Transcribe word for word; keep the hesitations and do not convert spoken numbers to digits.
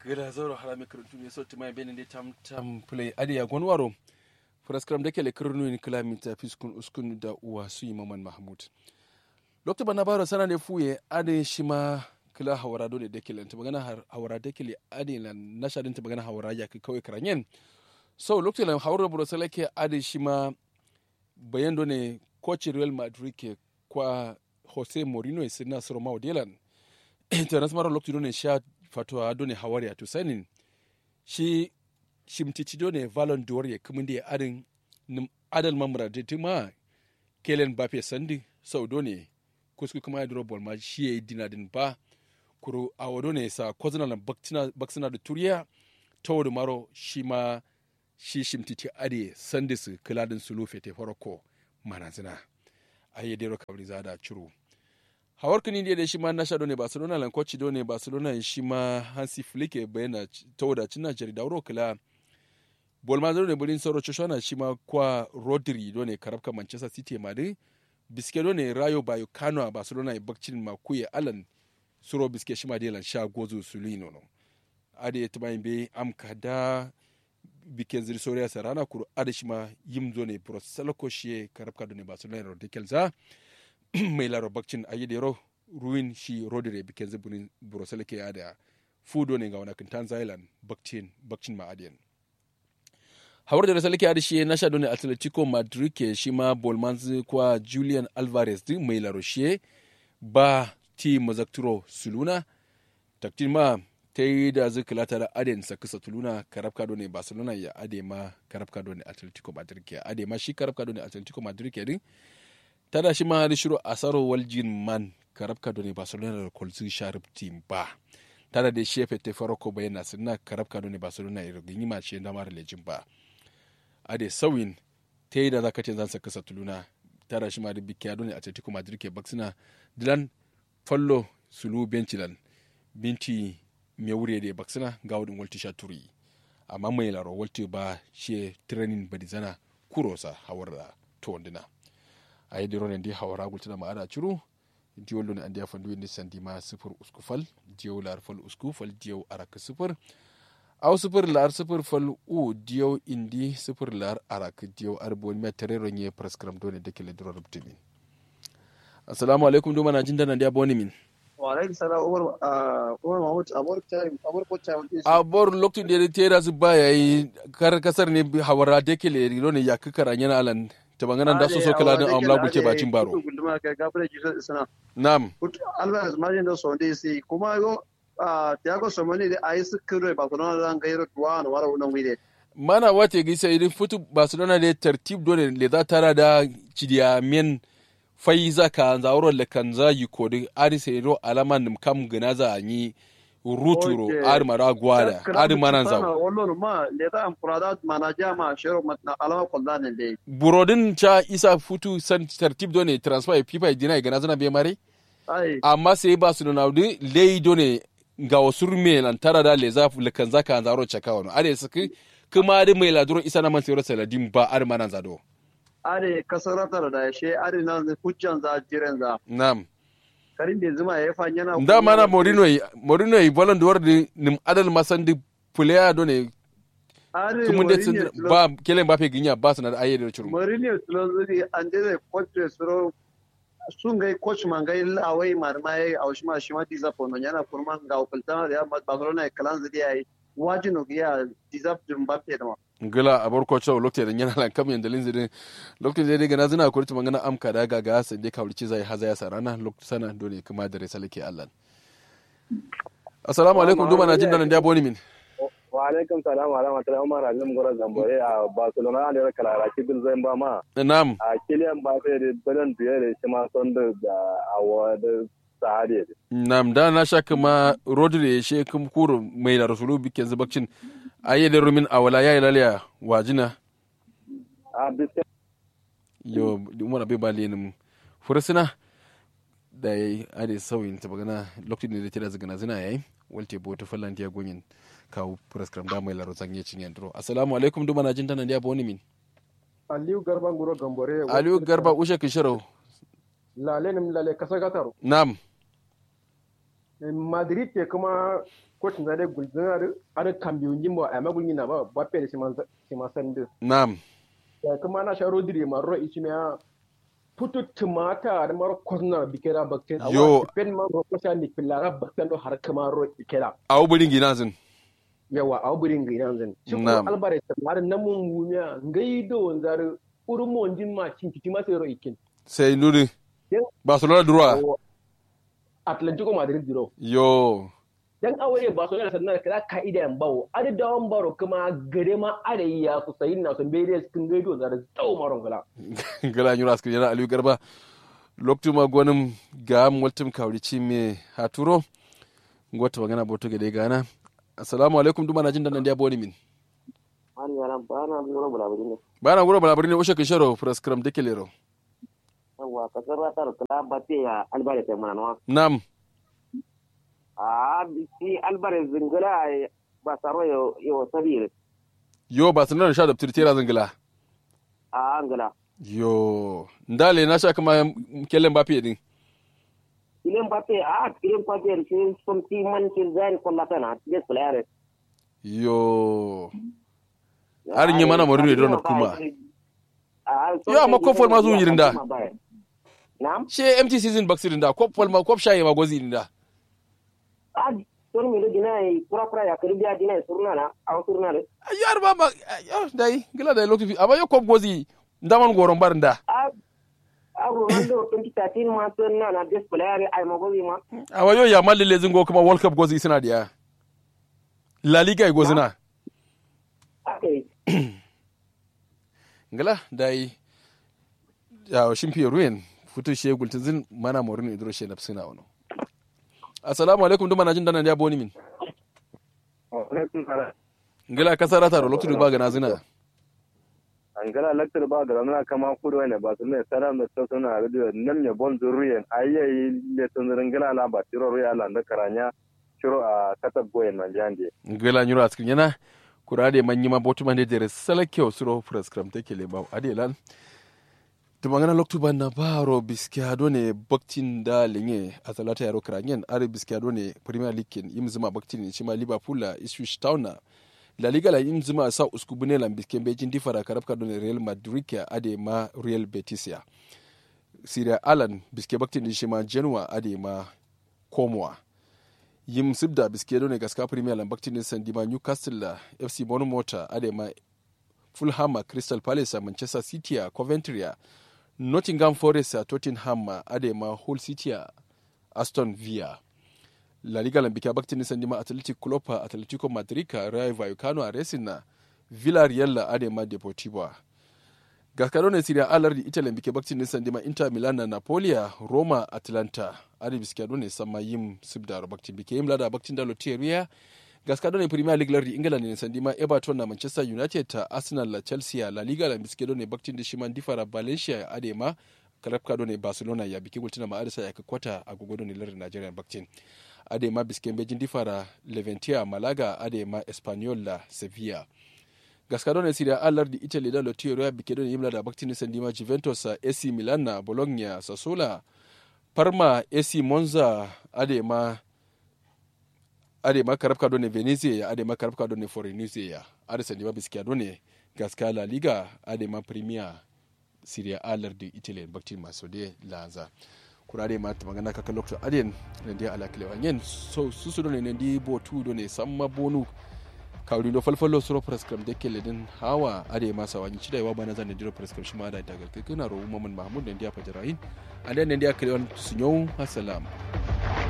Gǝla zauro harami kǝrǝntun ye so tǝma ye bene nde tam tam pǝlai adǝ ya gonwaro. Fǝraskǝram dakele kǝrǝnu yen kǝla minta fiskun uskun da uwa suyi maman mahmud. Loktu banna baro sana nde fuye adǝ shima kǝla hawara dole dakele tǝmagana hawara dakele adǝ lan nasha dǝn tǝmagana hawara yakkǝ kawai kǝranyen. So loktu lan hawar buro salake adǝ shima bayan done koci real madrid ke kwa jose mourinho ye sǝdǝna sǝro mawo delan. Tanas maro loktu done sha fatowa done hawar ya tusanin. Shi shimtiti done valon duwar ye kǝmǝndi ye adǝn nǝm adal ma muradi tǝma kelen bafe sandǝ sau done kusku kǝma ye duro bolma shi ye dinadǝn ba. Kuru awo done sa kozǝna lan baksǝna dǝ turiya. Tawo dǝ maro shima shi shimtiti adǝ ye sandǝsǝ kǝladǝn sulu fete farako manazǝna. Aye dero kabri zada curu. Hawar kǝni ndiye de shima nasha done barcelona lan koci done barcelona ye shima hansi flick ye bayana tawo da cǝnna jari dauro kǝla. Bolma done bulin soro coshana shima kwa rodri done karabka manchester city ye madǝ. Biske done rayo bayo kano a barcelona ye bakcin ma kuye alan. Suro biske shima de lan sha gozu suluyi nono. Adǝ ye tǝma ye mbeyi am kada. Bikken zǝ dǝ soriya sarana kuru adǝ shima yim done buro salako shiye karabka done barcelona yero dekel za. Mai laro bakcin ayi dero ruwin shi rodri ye bikken zǝ buro salake adǝ ya. Fu done ngawona kǝntan zayi lan bakcin ma adǝ yen. Hawar done salake adǝ shiye nasha done atletico madrid ke shima bolmanzǝ kwa julian alvarez dǝ mai laro shiye. Ba ti mazakturo suluna. Taktin ma tai dazǝ kǝla tada adǝ yen sakkǝ satuluna karabka done barcelona ya adǝ ye ma karabka done atletico madrid ke adǝ ye ma shi karabka done atletico madrid ke dǝ. Tada shima adǝ shiro asaro waljin man karabka done barcelona da kolzǝ sha rubtin ba. Tada de shi ye fete farako bayan na sǝdǝna karabka done barcelona ye rugǝnyi ma shi ye ndamaro lejin ba. Adǝ ye sauyin. Tai daza katen zan sakkǝ satuluna. Tada shima adǝ bikkiya done atletico madrid ke baksǝna. Dǝlan fallo sulu benci lan. Minti mewure dǝ ye baksǝna ngawo dǝn waltǝ sha turi. Amma mai laro waltǝ ba shi ye training badizana. Kuro sa hawar da towandǝna. Ayi dǝ ronen dǝ hawara gultǝna ma ada curu. Diyau lone andeya fanduwe nde sandima sǝfur usku fal. Diyau lar fal usku fal diyau arakǝ sǝfur. Au sǝfur lar sǝfur fal u diyau indi sǝfur lar arakǝ diyau adǝ bonimiya tarero nye faraskǝram done dakele duro rubtǝmin. Assalamu alaikum duma najin dana ndeya bonimin. Wa alaikum salam umar umar mahmud abor chai abor ko chai abor loktu nde tera zubba yayi. Kar kasar ne hawara dakele done yakkǝ karanyena alan. Tǝmangǝna nda soso kǝla dǝn awamla gulce bacin baro. Nam. Alvarez majin do sonde si kuma yo. Tiago somoni de ayi sǝkkǝ do barcelona da ngairo duwa no wara wuno ngui de. Mana wate gi sai dǝ futu barcelona de tartib do ne leza tara da cidiya men. Faiza kanza wuro lekanza yiko dǝ adǝ sai do alama nǝm kam gǝnaza anyi. Ruturo adǝ mara gwada adǝ mananza. Wallo ma leta amfurada manaja ma shero matna alama kolda ne dai. Burodin ca isa futu san tartib do ne transfer fifa dina gana zana be mare. Amma sai ba su nuna dǝ lei do ne. Ngawo surme lan tara da leza lekanza kanza wuro caka wano adǝ sǝkǝ. Kǝma adǝ mai laduro isa naman sai wuro saladin ba adǝ mananza do. Adǝ kasarata da she adǝ nan hujjanza jirenza. Nam. Karin be zuma ya fa nyana nda mana morino yi morino yi balon duwar dǝ nǝm adal masan dǝ. Puleya do ne. Kǝmǝn de tsin ba kelen ba fe ginya ba sǝna dǝ aye dǝ curu. Morino tsilon zuri ande zai kwace suro. Su ngai coach ma ngai lawai ma dǝ ma yayi au shima shima disa fono nyana kurma ngawo kǝltana dǝ ya barcelona ye kǝlanzǝ dǝ yayi. Wajino gǝ ya disa dǝ mbappe dǝ ma. Ngla abor kocho lokte de nyana lan kam yende linzi de. Lokte de gana zina kuri tuma ngana am kada gaga sende kawli ciza ya haza ya sarana loktu sana dole kuma dare salake allan. Assalamu alaikum duma na jin dana ndia boni min. Wa alaikum salam wa rahmatullahi umar halim gora zambore a barcelona ne kala raki dul zai ba ma. Nam. A kiliyan ba sai de balan duye de shima son da awo da. Nam da na sha kǝma rodri ye she kǝm kuro mai laro sulu bikken zǝ bakcin. Aye de rumin awala yayi laliya wajina. Yo umar abe ba lenǝm. Fursuna. Dai ade sauyin tǝbagǝna lokacin da tira zǝgǝna zǝna yayi. Walte boto fallan diya gonyin. Kawu furaskram da mai laro zanye cinyen duro assalamu alaikum duma na jin tana diya boni min. Aliyu garba nguro gambore aliyu garba ushe kǝshiro. Lale nǝm lale kasa gataro. Nam. Madrid te kǝma kotǝnza dai gulzǝna dǝ adǝ kambiwunjin bawo ayama gulnyi nama bappe dǝ shima sandǝ. Nam. Kǝma nasha rodri ye ma ro ishimiya. Futu tǝmata adǝ maro kosna bikera bakten awa. Yo. Tǝfen ma ro kosha ni pillara bakten do har kǝma ro ikera. Awo bǝri nginazǝn. Yawa awo bǝri nginazǝn shi kuro. Alvarez tǝmma dǝ namun wumiya ngai do wanza dǝ. Uru monjin ma cinkitima sai ro ikin. Sai nduri. Barcelona durowa. Atlantico madrid duro. Yo. Dan awo ye barcelona sanna kala kaida yan bawo adǝ dawon baro kǝma gade ma adǝ ya su sayin na so mbe dai kǝn gai do zare. Dawo maro ngala. Ngala nyiro askǝ yana aliyu garba. Loktu ma gonǝm ga'am waltǝm kawuri ci me haturo. Ngo tǝmangana boto gade gana. Assalamu alaikum duma na jin dan nandiya boni min. Bana nguro bala bǝri ne ushe kǝn shero furaskǝram dǝ kelero. Yawwa kasar ratar kula batte ya albarka sai mana nawa. Nam. A biki albarka zingila. Ba saro yo yo sabire. Yo ba sanar sha daftar tera zingila. A ngila. Yo ndale na sha kuma kellen bafe din. Kellen bafe a kellen bafe din sai somti man kin zain kolla kana des player. Yo. Har nyi mana moru ne dona kuma. Yo amma kop fol ma zu yirinda. She empty season bak sirinda kop fol ma kop shaye ma gozi yirinda. Ton mi do dina yi kura kura ya kiri biya dina yi surna na aw surna de. Yo har ba ma. Yo dai gila dai lokti fi amma yo kop gozi. Ndaman goron barinda. A ronaldo twenty thirteen ma surna na best player ai ma gozi ma. Amma yo ya malli lezin go kuma world cup gozi sina diya. La liga yi gozina. Ngla dai. Yawo shimfiye ruyen futu she gultinzin mana morin idro she nafsina wono. Assalamu alaikum duma najin dana ndiya boni min. Ngla kasara taro loktu ba gana zina. Angala laktir ba gana zina kama kudo ne ba sunne sara me to suna radio nam ne bon zuruyen ayyayi le tunzin ngla la ba tiro ruya la nda karanya. Curo a katab goyen manjande. Ngela nyuro askir nyana. Kura de manyi ma botu mande dere salakeo suro furaskram take le bawo ade lan. Tumangana loktu banna baro biskiya done baktin da lenye asalata yaro kranyen are biskiya done premier league ken imzuma baktin shima liverpool la ipswich town na. La liga la imzuma sa usku bune lan bisken bejin difara karabka done real madrid ya ade ma real betis ya. Serie a lan biske baktin shima genoa ade ma komowa. Yim sibda biske done gaska premier lan baktin din sandima newcastle la fc bournemouth a adema fulham a crystal palace a manchester city a coventry a nottingham forest a tottenham a adema hull city a aston villa. La liga lan bike baktin din sandima athletic club a atletico madrid a rayo vallecano a racing na villarreal la adema deportivo a. Gaska done serie a lardi italy bike baktin din sandima inter milan na napoli a roma atlanta. Adi biskiya done samma yim sibdaro baktin bike yim lada baktin da lottiye ruya. Gaska done premier league lardi england ne sandima everton na manchester united ta arsenal la chelsea a la liga la biskiya done baktin din shima ndifara valencia adema. Karabka done barcelona ya bike gultina ma adisa ya kakkota agogo done lardi nigeria baktin. Adema biskiya mbeji ndifara leventia malaga adema espanyol la sevilla. Gaska done serie a lardi italy da lottiye ruya bike done yim lada baktin din sandima juventus a ac milan na bologna sassuolo a parma ac monza adema. Adema karabka done venezia ya adema karabka done forenezia ya adi sandima biskiya done. Gaska la liga adema premier. Serie a lardi italy baktin ma so de lanza. Kura de ma tǝmangana kaka lokto aden. Nandi ala kǝlewa nyen so susu done nandi botu done samma bonu. Kawri do falfallo suro praskram de kelle din hawa ade ma sawa nyi cidai wa bana zan nandiro praskram shima da dagal kekena ro umma mun mahmud nandi a fajarayin. Ande nandi a kǝlewan sunyau. Assalam.